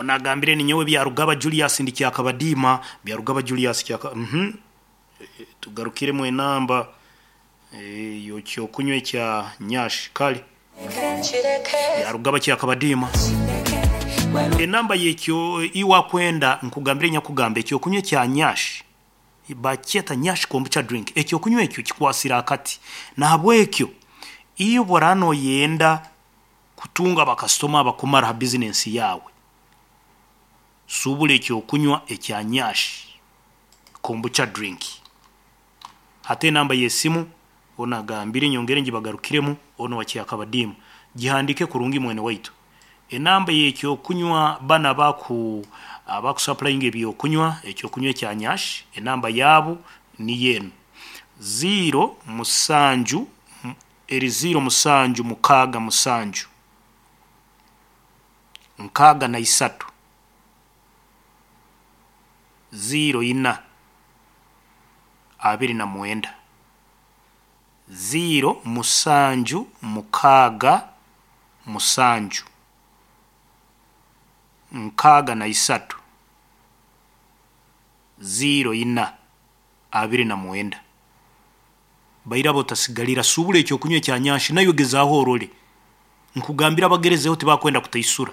Nagambire ninyowe Byarugaba Julius ndi Kyakabadiima. Byarugaba Julius Kyaka uhmm tugarukiremu enamba y'ekyokunywa ekya Nyash kale Byarugaba Kyakabadiima. Enamba y'ekyo iwe akwenda nkugambire nyakugamba ekyokunywa ekya Nyash bakyeta Nyash Kombucha Drink ekyokunywa ekyo kikwasire akati nahabwekyo iwe bworaba noyenda kutunga bakasitoma abakumara ha bizinesi yaawe, suubura ekyokunywa ekya Nyash Kombucha Drink. Hati enamba y'esimu onu agambire nyongere ngibagarukiremu onu owa Kyakabadiima. Gihandiike kurungi mwene waitu. Enamba y'ekyokunywa banu abaku abakusapulayinga ebyokunywa, ekyokunywa ekya Nyash, enamba yaabu niyo enu, ziiro musanju Eri ziiro musanju mukaaga musanju, nkaaga na isatu, ziiro ina, 29. Ziiro musanju mukaaga musanju, 63, 04, 29. Bairaba otasigalira, suubura ekyokunywa ekya nyanshi naiwe gezaaho orole. Nkugambire abagerezeho tibakwenda kutaisura.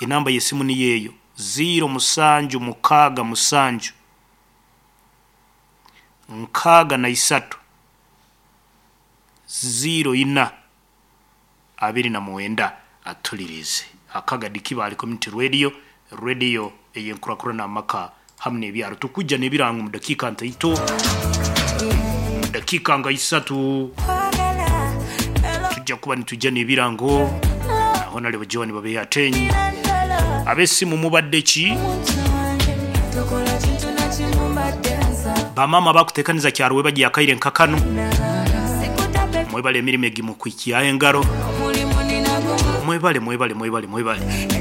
Enamba y'esimu niyo eyo, ziiro musanju mukaaga musanju, 63, 04, 29. Atuliriize. Akagadi Kibaale Community Radio, Radio ey'enkurakurana amaka hamu n'ebyaro. Tukwija n'ebirango omu dakiika ntaito, omu dakiika nka isatu tujja kuba nitwija n'ebirango na Honarebo Joan Babehe Ateenyi. Ab'esimu mubadde ki? Bamaama abakuteekaniza kyaro webagye akaire nka kanu, mwebale emirimo egimukwikyaho engaro. Mwebale, mwebale, mwebale, mwebale.